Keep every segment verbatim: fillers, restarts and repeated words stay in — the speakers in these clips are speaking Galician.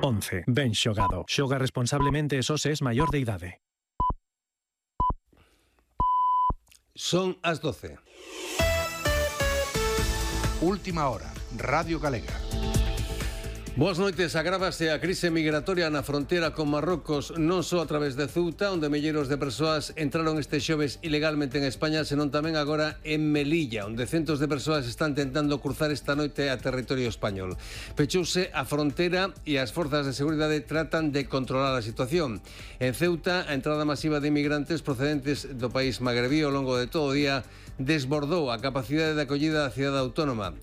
once. Ben xogado. Xoga responsablemente e só se es maior de idade. Son as doce. Última hora, Radio Galega. Boas noites. Agrávase a crise migratoria na fronteira con Marrocos, non só a través de Ceuta, onde milleiros de persoas entraron este xoves ilegalmente en España, senón tamén agora en Melilla, onde centos de persoas están tentando cruzar esta noite a territorio español. Pechouse a fronteira e as forzas de seguridade tratan de controlar a situación. En Ceuta, a entrada masiva de inmigrantes procedentes do país magrebí ao longo de todo o día desbordou a capacidade de acollida da cidade autónoma.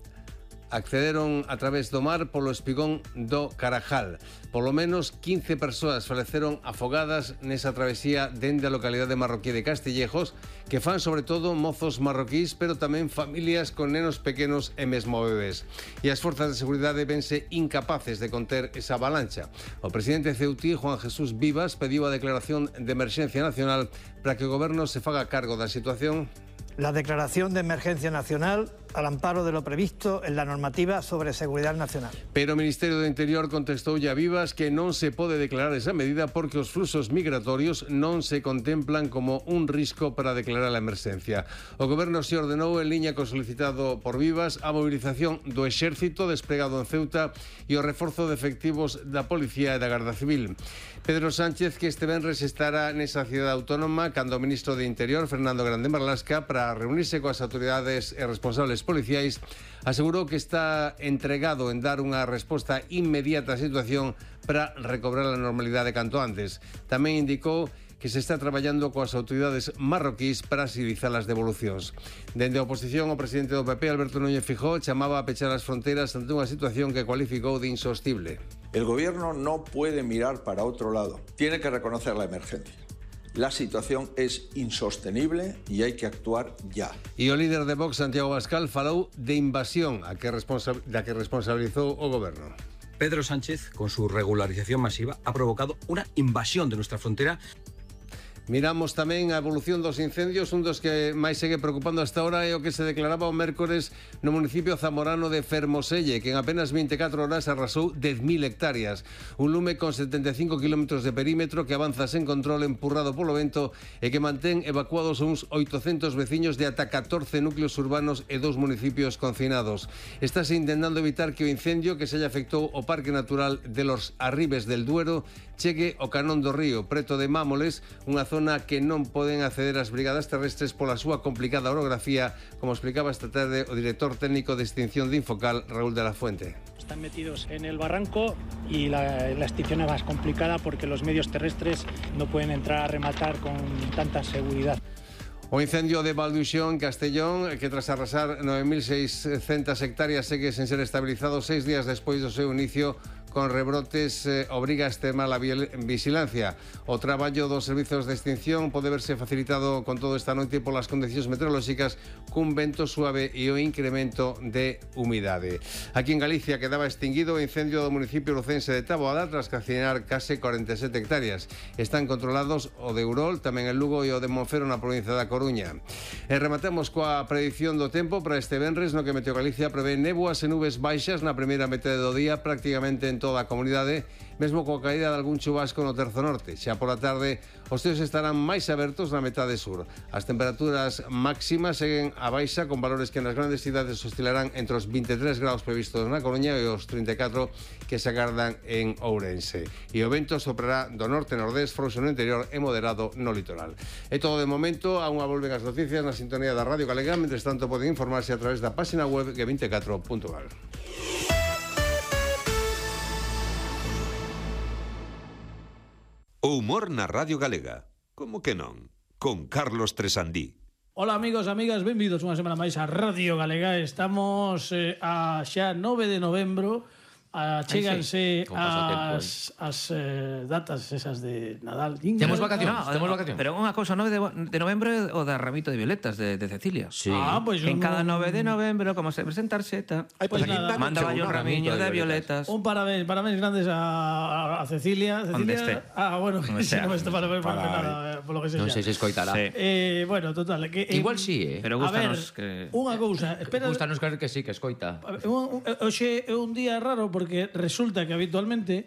Accederon a través do mar polo espigón do Carajal. Polo menos quince persoas faleceron afogadas nesa travesía dende a localidade marroquí de Castillejos, que fan sobre todo mozos marroquís, pero tamén familias con nenos pequenos e mesmo bebés. E as forzas de seguridade vense incapaces de conter esa avalancha. O presidente ceutí, Juan Jesús Vivas, pediu a declaración de emerxencia nacional para que o goberno se faga cargo da situación. La declaración de emergencia nacional al amparo de lo previsto en la normativa sobre seguridad nacional. Pero o Ministerio do Interior contestou a Vivas que non se pode declarar esa medida porque os fluxos migratorios non se contemplan como un risco para declarar a emerxencia. O goberno se ordenou en liña co solicitado por Vivas a movilización do exército desplegado en Ceuta e o reforzo de efectivos da Policía e da Garda Civil. Pedro Sánchez, que este venres estará nesa cidade autónoma cando o ministro de Interior, Fernando Grande Marlasca, para reunirse coas autoridades e responsables policiais, asegurou que está entregado en dar unha resposta inmediata á situación para recobrar a normalidade canto antes. Tamén indicou que se está traballando coas autoridades marroquís para agilizar as devolucións. Dende a oposición, o presidente do P P, Alberto Núñez Feijóo, chamaba a pechar as fronteras ante unha situación que cualificou de insostible. El gobierno no puede mirar para otro lado. Tiene que reconocer la emergencia. La situación es insostenible y hay que actuar ya. E o líder de Vox, Santiago Abascal, falou de invasión a que responsa- da que responsabilizou o goberno. Pedro Sánchez, con su regularización masiva, ha provocado una invasión de nuestra frontera. Miramos tamén a evolución dos incendios. Un dos que máis segue preocupando hasta ahora é o que se declaraba o mércores no municipio zamorano de Fermoselle, que en apenas vinte e catro horas arrasou dez mil hectáreas. Un lume con setenta e cinco kilómetros de perímetro que avanza sen control, empurrado polo vento, e que mantén evacuados uns oitocentos veciños de ata catorce núcleos urbanos e dous municipios confinados. Estáse intentando evitar que o incendio que se lle afectou o Parque Natural de los Arribes del Duero chegue ao Canón do Río, preto de Mámoles, unha zona que non poden acceder as brigadas terrestres pola súa complicada orografía, como explicaba esta tarde o director técnico de extinción de Infocal, Raúl de la Fuente. Están metidos en el barranco y la, la extinción es más complicada porque los medios terrestres no pueden entrar a rematar con tanta seguridad. O incendio de Valduxón, Castellón, que tras arrasar nove mil seiscentas hectáreas segue sen ser estabilizado seis días despois do seu inicio, con rebrotes, eh, obriga a extremar a vigilancia. O traballo dos servizos de extinción pode verse facilitado con todo esta noite polas condicións meteorolóxicas, cun vento suave e o incremento de humidade. Aquí en Galicia quedaba extinguido o incendio do municipio lucense de Taboada tras calcinar case cuarenta e sete hectáreas. Están controlados o de Urol, tamén el Lugo e o de Monfero na provincia da Coruña. E rematamos coa predición do tempo para este venres, no que Meteo Galicia prevé néboas e nubes baixas na primeira metade do día, prácticamente en toda a comunidade, mesmo coa caída de algún chubasco no terzo norte. Xa pola tarde, os ceos estarán máis abertos na metade sur. As temperaturas máximas seguen a baixa, con valores que nas grandes cidades oscilarán entre os vinte e tres graus previstos na Coruña e os trinta e catro que se agardan en Ourense. E o vento soprará do norte-nordés, frouxo no interior e moderado no litoral. É todo de momento. A unha volven as noticias na sintonía da Radio Galega. Mentres tanto, poden informarse a través da página web ge vinte e catro punto gal. O humor na Radio Galega. Como que non? Con Carlos Tresandí. Ola amigos, amigas, benvidos unha semana máis a Radio Galega. Estamos eh, a xa nove de novembro. Achéganse sí. as, as eh, datas esas de Nadal. Temos vacacións, no, temos vacacións. Pero unha cousa, nove de novembro o da Ramito de Violetas de, de Cecilia. Sí. Ah, pues en no... cada nove de novembro, como se presenta tarxeta, Ay, pues, pues nada, mandaba yo un ramiño de violetas. Un parabéns, parabéns grandes a, a Cecilia. Cecilia. Ah, bueno, que si non me está parabéns para nada, por lo que sea. Non sei se escoitará. Sí. Eh, bueno, total, que igual si, sí, eh. Pero gustanos que unha cousa, espera. Gustanos creer que sí, que escoita. Hoxe é un día raro porque resulta que habitualmente